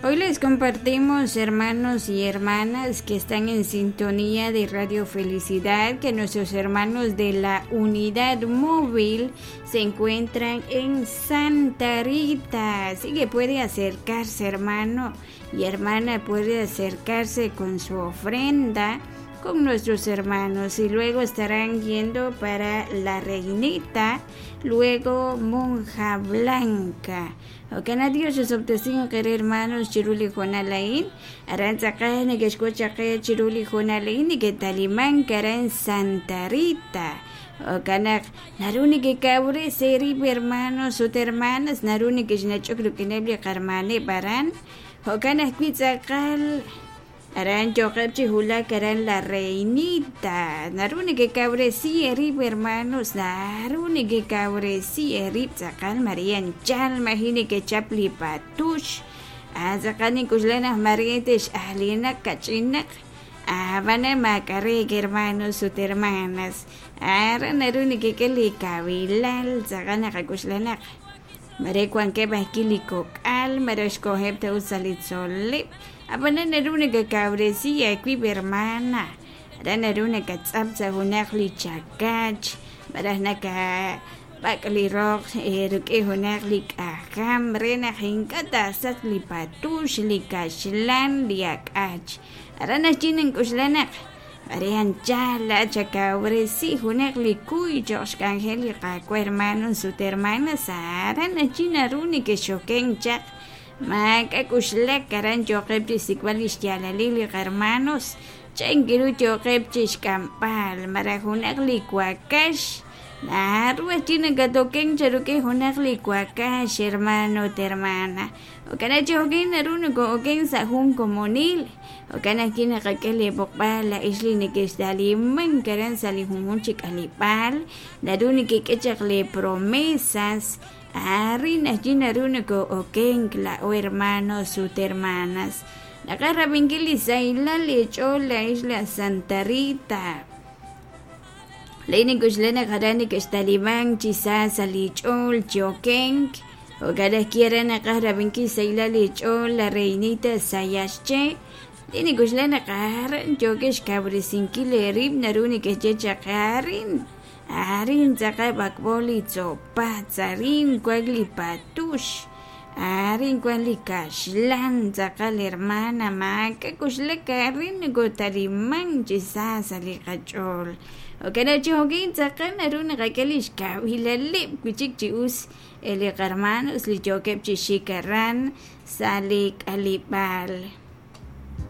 Hoy les compartimos, hermanos y hermanas que están en sintonía de Radio Felicidad, que nuestros hermanos de la unidad móvil se encuentran en Santa Rita. Así que puede acercarse, hermano y hermana, puede acercarse con su ofrenda con nuestros hermanos y luego estarán yendo para la Reinita, luego Monja Blanca. Jo'kan Dios xosob'tesinq eere hermanos chiru li hoonal a'in, aran tz'aqal neke'xk'ut chaq qe chiru li hoonal a'in neke'talimank aran Santa Rita. Jo'kan naq naru nekekawres eerib' hermanos ut hermanas, naru nekexnach'ok rik'ineb' li qarmaaneb' aran. Jo'kan ajwi' tz'aqal Aran yooqeb' chi wulak aran La Reinita. Naru nekekawresi eerib' hermanos, naru nekekawresi eerib' tz'aqal Maria anchal maji' nekechap li patux. Ah, tz'aqal nink'uxla naq maare tex'ajlinaq kach'inaq. Ab'anan maak'a' reek hermanos ut hermanas. Aran naru nekek'e li kawilal, tz'aqal naqak'uxla naq mare wankeb' ajwi' li kok'al, mare xkoheb' ta ut sa' li tzol'leb'. Ab'anan naru nakakawresi aawib' hermana, aran naru nakatz'ap sa' junaq li chakach malaj nakab'ak' li roq rik'in junaq li k'ajam re naq ink'a' taasachq li patux, li kaxlan, li ak'ach. Aran naxye nink'oxla naq mare anchal laa'at xakawresi junaq li kuy cho'q xk'anjel li Qaawa' hermanos ut hermanas, aran naxye naru nekexokenk chaq. Maak'a' k'uxlak aran yooqeb' chi xsik'b'al li xyaalalil li qarmanos, chan ru yooqeb' chi xk'amb'al malaj junaq li wakax. Naru ajwi' nakatokenk charuk'in junaq li wakax, hermano ut hermana. Jo'kan naq chi jo'kin naru nokoo'okenk sa' jun komonil. Jo'kan ajwi' naqak'e li b'oqb'al laa'ex li nekextalimank aran sa' li junjunq chi k'aleb'aal, naru nekek'e chaq lee promesas. Arin ajwi' naru nokoo'okenk laa'o hermanos ut hermanas. Naqaj rab'inkil li sahilal eech'ool laa'ex laj Santa Rita. Laa'in nink'oxla naq aran neke'xtalimank chi sa sa' li ch'ool chi okenk. Jo'kan ajwi' aran naqaj rab'inkil sahilal eech'ool la Reinita Sayaxche. Laa'in nink'oxla naq aran yookex xkawresinkil eerib' naru neke'xye chaq arin. Arin tz'aqal b'ak'b'o li tzopatz, arin wank li patux, arin wank li kaxlan, tz'aqal hermana maak'a' k'uxlak arin nokotalimank chi sa sa' li qach'ool. Jo'kan naq chi jo'kin tz'aqal naru naqak'e li xkawilaleb' wi' chik chi us li qarmanos li yookeb' chi xik aran sa' li k'aleb'aal.